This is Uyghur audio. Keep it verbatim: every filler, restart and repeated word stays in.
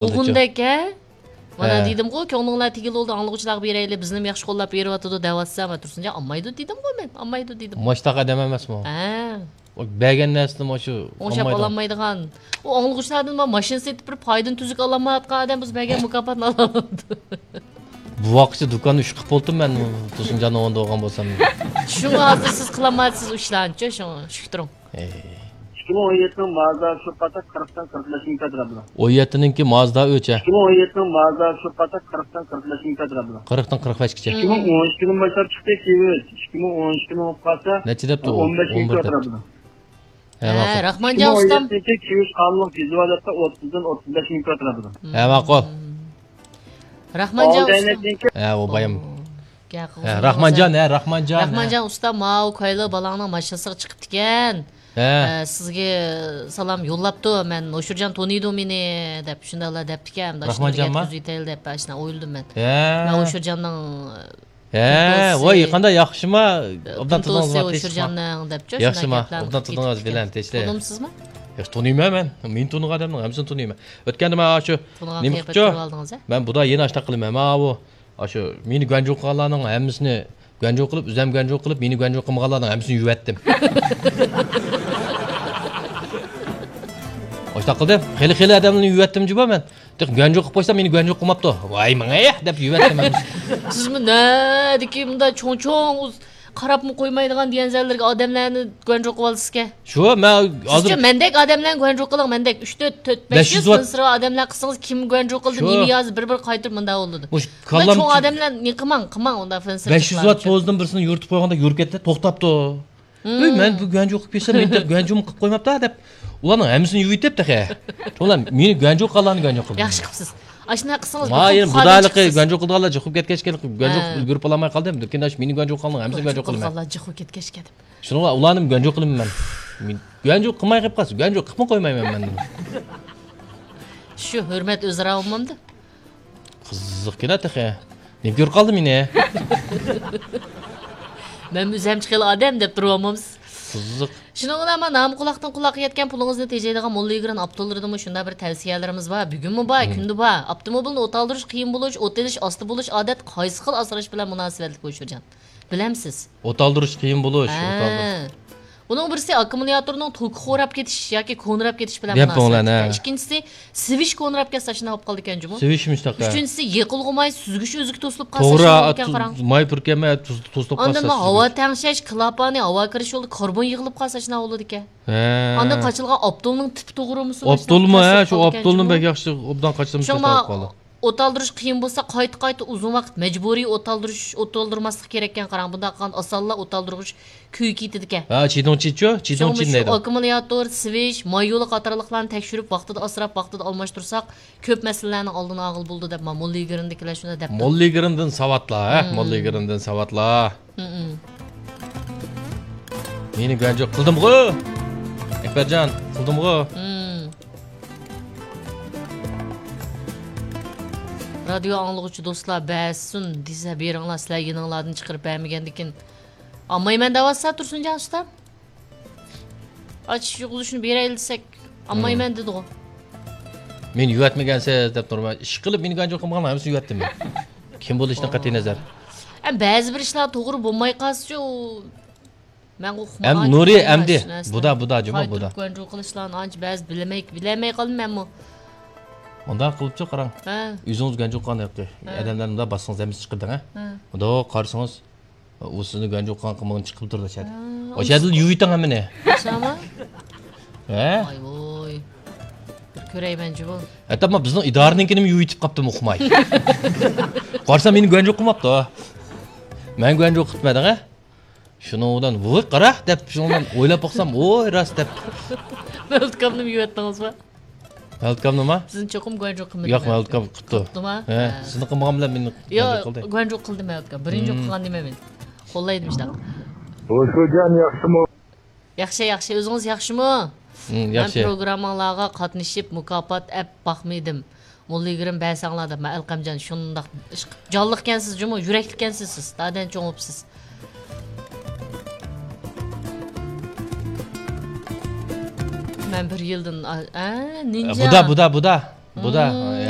بولدىچۇ. ئۇغۇندەك، ھە؟ مانا ھە. دېدىمغۇ، كۆڭلۈڭلار تېگىلى بولدى، ئاڭلىغۇچىلارغا بېرەيلى، بىزنىمۇ ياخشى قوللاپ بېرىۋاتىدۇ دەۋاتسا، مانا تۇرسۇنجان، ئالمايدۇ دېدىمغۇ مەن، ئالمايدۇ دېدىم. ماشتاق ئادەم ئەمەسمۇ؟ ھە. ئۇ بەرگەن نەرسىنى مۇشۇ ئوڭشاپ ئالمايدىغان. ئالالمايدىغان. ئۇ ئاڭلىغۇچىلاردىن بار ماشىنا سېتىپ بېرىپ پايدىنى تۈزۈك ئالالمايۋاتقان ئادەم بىز بەرگەن مۇكاپاتنى ئالالمايدۇ. بۇ ۋاقىتتا دۇكاننى ئۈچ قىلىپ بولدۇم مەن، تۇرسۇنجاننىڭ ئورنىدا بولغان بولسام. شۇڭا ھازىر سىز قىلالمايسىز ئۇ ئىشلارنىچۇ، شۇڭا شۈكتۈرۈڭ. ئەي. ئىككى مىڭ ئون يەتتىنىڭ مازدا شۇ پاتاق قىرىقتىن قىرىق بەش مىڭ كۆتۈرۈلدى. ئون يەتتىنىڭكى مازدا ئۆچە. ئىككى مىڭ ئون يەتتىنىڭ مازدا شۇ پاتاق قىرىقتىن قىرىق بەش مىڭ كۆتۈرۈلدى. قىرىقتىن قىرىق بەشكىچە. ئىككى مىڭ ئون ئىككىدىن باشلاپ چىقتى كىۋىس. ئىككى مىڭ ئون ئىككىدىن بولۇپ قالسا، نەچچە دەپتۇ ئۇ؟ ئون بەش مىڭ ئون بىر دەپتۇ. كۆتۈرۈلدى. ھە، ھە، ماقۇل. راخمانجان ئىككى مىڭ ئون يەتتىنىڭكى ئۇستام. كىۋىس قانۇنلۇق ۋىزۇالىيەتتە ئوتتۇزدىن ئوتتۇز بەش مىڭ كۆتۈرۈلدى. ھە، ماقۇل. راخمانجان ئۇستام. ئالدى ئەينەكنىڭكى ھە، ئۇ بايام. ھە، راخمانجان، ھە، راخمانجان، ھە. راخمانجان ئۇستا، ماۋۇ كايلى بالاڭنىڭ ماشىنىسىغا چىقىپتىكەن. ھە. ئە، سىزگە سالام يوللاپتۇ، مەن ھوشۇرجان تونۇيدۇ مېنى، دەپ شۇنداقلا دەپتىكەن. ئاشۇنى بىر راخمانجانما؟ يەتكۈزۈۋېتەيلى دەپ، ئاشۇنا ئويلىدىم مەن. ھە. مەن ھوشۇرجاننىڭ ھە، پىنتوسى، ۋاي، قانداق ياخشىما؟ ئوبدان پىنتوسى تۇتۇڭىز، ھوشۇرجاننىڭ دەپچۇ، شۇنداق ياخشىما؟ گەپلەرنى ئوبدان قىلىپ تۇتۇڭىز، كېتىپتىكەن. بىلەن تەشتە. تونۇمسىزمۇ؟ ياخشى تونۇيمەن مەن. مېنى تونۇغان ئادەمنىڭ ھەممىسىنى تونۇيمەن. ئۆتكەندە مەن ئاشۇ تونۇغان نېمە قىپچۇ؟ قىياپەت كۆرۈۋالدىڭىز، ھە؟ مەن بۇدا يەنە ئاشۇنداق قىلىمەن. ماۋۇ ئاشۇ مېنى گۇەنجۇ قىلغانلارنىڭ ھەممىسىنى گۇەنجۇ قىلىپ، ئۆزۈم گۇەنجۇ قىلىپ، مېنى گۇەنجۇ قىلمىغانلارنىڭ ھەممىسىنى يۇيۇۋەتتىم. ئاشۇنداق قىلدىم. خېلى، خېلى ئادەملەرنى يۇيۇۋەتتىم جۇمۇ مەن. تېخى گۇەنجۇ قىلىپ قويسام، مېنى گۇەنجۇ قىلماپتۇ. ۋاي مېڭە دەپ يۇيۇۋەتتىم مەن. سىزمۇ نەدىكى مۇنداق چوڭ-چوڭ ئۇز-، قاراپمۇ قويمايدىغان دېگەن زەنلەرگە ئادەملەرنى گۇەنجۇ قىلىۋالىسىزكەن. شۇ، مەن ھازىر سىزچۇ مەندەك ئادەملەرنى گۇەنجۇ قىلىڭ، مەندەك ئۈچ تۆت، تۆت، بەش يۈز بەش يۈز ۋات. فىنسىرى ئادەملەر قىلسىڭىز، كىم گۇەنجۇ قىلدى، شۇ. نېمە يازدى، بىر-بىر قايتۇرۇپ مۇنداق بولىدۇ. مۇشۇ مۇنداق كاللام چوڭ ئادەملەر نېمە قىلماڭ، قىلماڭ ئۇنداق فىنسىر بەش يۈز ۋات پوزىدىن بىرسىنى يورۇتۇپ قويغاندا يورۇپ كەتتى، توختاپتۇ. ھىم. ئۆي، مەن بۇ گۇەنجۇ قىلىپ كەتسەم، مېنى گۇەنجۇمۇ قىلىپ قويماپتۇ دەپ، ئۇلارنىڭ ھەممىسىنى يۇيۇۋېتىپ تېخى. ئۇلار مېنى گۇەنجۇ قىلغانلارنى گۇەنجۇ قىلدى. ياخشى قىپسىز. ئاشۇنداق قىلسىڭىز، ياخشىما، بۇ يەنە خۇدالىق بۇدالىقى چىقىسىز. گۇەنجۇ قىلىدىغانلار جىق بولۇپ كەتكەچكە، گۇەنجۇ ھە. ئۈلگۈرۈپ بولالماي قالدىم. لېكىن ئاشۇ مېنى گۇەنجۇ قىلغانلار ھەممىسىنى گۇەنجۇ قىلىمەن. قىلغانلار جىق بولۇپ كەتكەچكە دەپ. شۇنىڭغا ئۇلارنىمۇ گۇەنجۇ قىلىمەن مەن. گۇەنجۇ قىلماي قېلىپ قالسا، گۇەنجۇ قىلىپمۇ قويمايمەن مەن. شۇ ھۆرمەت ئۆزئارا بولمامدۇ؟ قىزىقكىنا تېخى. نېمە كۆرۈپ قالدى مېنى؟ مەنمۇ ئۆزۈمچە خېلى ئادەم دەپ تۇرۇۋالمامسىز؟ قىزىق. شۇنىڭ بىلەن مانا نامى قۇلاقتىن قۇلاققا يەتكەن پۇلىڭىزنى تېجەيدىغان موللا يىگىرىنىڭ ئاپتورلىرىدىنمۇ شۇنداق بىر تەۋسىيەلىرىمىز بار. بۈگۈنمۇ بار، ھىم. كۈندە بار. ئاپتوموبىلنى ئوت ئالدۇرۇش قىيىن بولۇش، ئوت ئېلىش ئاستا بولۇش ئادەتتە قايسى خىل ئاسراش بىلەن مۇناسىۋەتلىك، ھوشۇرجان؟ بىلەمسىز؟ ئوت ئالدۇرۇش قىيىن بولۇش، ھە. ئوت ئالدۇرۇش. بۇنىڭ بىرسى ئاككۇمۇلياتورنىڭ توكى خوراپ كېتىش ياكى كونىراپ كېتىش بىلەن مۇناسىۋەتلىك. ئىككىنچىسى، سىۋىش كونىراپ كەتسە ئاشۇنداق بولۇپ قالىدىكەن جۇمۇ. سىۋىش مۇشۇنداق، ھە. ئۈچىنچىسى، يېقىلغۇ ماي سۈزگۈچ ئۆزىگە توسۇلۇپ قالسا توغرا، ئاشۇنداق بولىدىكەن، قاراڭ. ماي پۈركەلمەي توسۇلۇپ قالسا. ئاندىن ھاۋا تەڭشەش كىلاپانى، ھاۋا كىرىش يولىدا كاربون يىغىلىپ قالسا ئاشۇنداق بولىدىكەن. ھە. ئاندىن قاچىلىغان ئاپتولنىڭ تىپى توغرىمۇ؟ ئاپتولمۇ، ھە، شۇ ئاپتولنى بەك ياخشى ئوبدان قاچىلىمىش شۇڭا توختاپ قالدى. ئوت ئالدۇرۇش قىيىن بولسا، قايتا-قايتا ئۇزۇن ۋاقىت مەجبۇرىي ئوت ئالدۇرۇش، ئوت ئالدۇرماسلىق كېرەككەن، قاراڭ. بۇنداق قىلغاندا ئاسانلا ئوت ئالدۇرغۇچ كۈيگە كېتىدىكەن. ھە، چىدۇڭچىچۇ؟ چىدۇڭچىن دەيدۇ. شۇ ئاككۇمۇلياتور، سىۋىش، ماي يولى قاتارلىقلارنى تەكشۈرۈپ، ۋاقتىدا ئاسراپ، ۋاقتىدا ئالماشتۇرساق، كۆپ مەسىلىلەرنىڭ ئالدىنى ئالغىلى بولىدۇ دەپ، مانا موللا يىگىرىندىكىلەر شۇنداق دەپتۇ. موللا يىگىرىندىن ساۋاتلار، ھە؟ موللا يىگىرىندىن ساۋاتلار. مېنى گۇەنجۇ قىلدىمغۇ؟ ئەكبەرجان، قىلدىمغۇ؟ رادىيو ئاڭلىغۇچى دوستلار، بەرسۇن دېسە بېرىڭلار، سىلەر يېنىڭلاردىن چىقىرىپ بەرمىگەندىكىن ئالمايمەن دەۋاتسا، تۇرسۇنجان ئۇستام. ئاچىش يۇغۇزۇشنى بېرەيلى دېسەك، ئالمايمەن دېدىغۇ. مېنى يۇۋاتمىگەنسىز دەپ تۇرۇپ، ئىشقىلىپ مېنى گۇەنجۇ قىلمىغان ھەممىسىنى يۇۋاتتىم مەن. كىم بولۇشىدىن قەتئىي نەزەر. ئەم، بەزى بىر ئىشلار توغرا بولماي قالسىچۇ، ئۇ مەن ئۇقمىغان ئەم نۇرى ئەمدى. بۇدا، بۇدا، جۇمۇ بۇدا. گۇەنجۇ قىلىشلارنى ئانچە بەزى بىلمەي، بىلەلمەي قالدىم مەنمۇ. مۇنداق قىلىپچۇ قاراڭ. ھە. ئۆزىڭىز گۇەنجۇ قىلغان ھەققى. ھە. ئادەملەرنى مۇنداق باسسىڭىز ھەممىسى چىقىدۇ، ھە؟ ھە. مۇنداق قارىسىڭىز، ئۇ سىزنى گۇەنجۇ قىلغان قىلمىغىنى چىقىپ تۇرىدۇ ئىچەردە. ھە، ئاشۇ يەردىلا يۇيۇۋېتىڭ ھەممىنى. ئاشۇمۇ؟ ھە؟ ۋاي ۋوي. بىر كۆرەيمەنچۇ بۇ. ھەتتا مانا بىزنىڭ ئىدارىنىڭكىنىمۇ يۇيۇۋېتىپ قاپتىمۇ ئۇقماي. قارىسام مېنى گۇەنجۇ قىلماپتۇ. مەن گۇەنجۇ قىپتىمەن دەڭە. شۇنىڭ بىلەن ۋوي قارا دەپ، شۇنىڭ بىلەن ئويلاپ باقسام، ۋوي راست دەپ. مەۋلۇت ئاكامنىمۇ يۇيۇۋەتتىڭىزمۇ؟ مەۋلۇت ئاكامنىما؟ سىزنى چوقۇم گۇەنجۇ قىلمىدى. ياق، مەۋلۇت ئاكام قىپتۇ. قىپتۇما؟ ھە، ھە. سىزنى قىلمىغان بىلەن مېنى گۇەنجۇ قىلدى. ياق، گۇەنجۇ قىلدى مەۋلۇت ئاكام. بىرىنچى قىلغان دېمەي مېنى. قوللايدۇ مۇشۇنداق. ھوشۇرجان ياخشىمۇ؟ ياخشى، ياخشى. ئۆزىڭىز ياخشىمۇ؟ مەن ياخشى. پروگرامماڭلارغا قاتنىشىپ، مۇكاپات ئەپ باقمىدىم. موللا يىگىرىم بەرسەڭلار دەپ، مەن ئەلقەمجان شۇنداق ئىشق-، جانلىقكەنسىز جۇمۇ، يۈرەكلىككەنسىز سىز. دادەن چوڭ بوپسىز. مەن بىر يىلدىن، ئا، ئە، نىنجا. بۇدا، بۇدا، بۇدا. بۇدا، مم. ھەم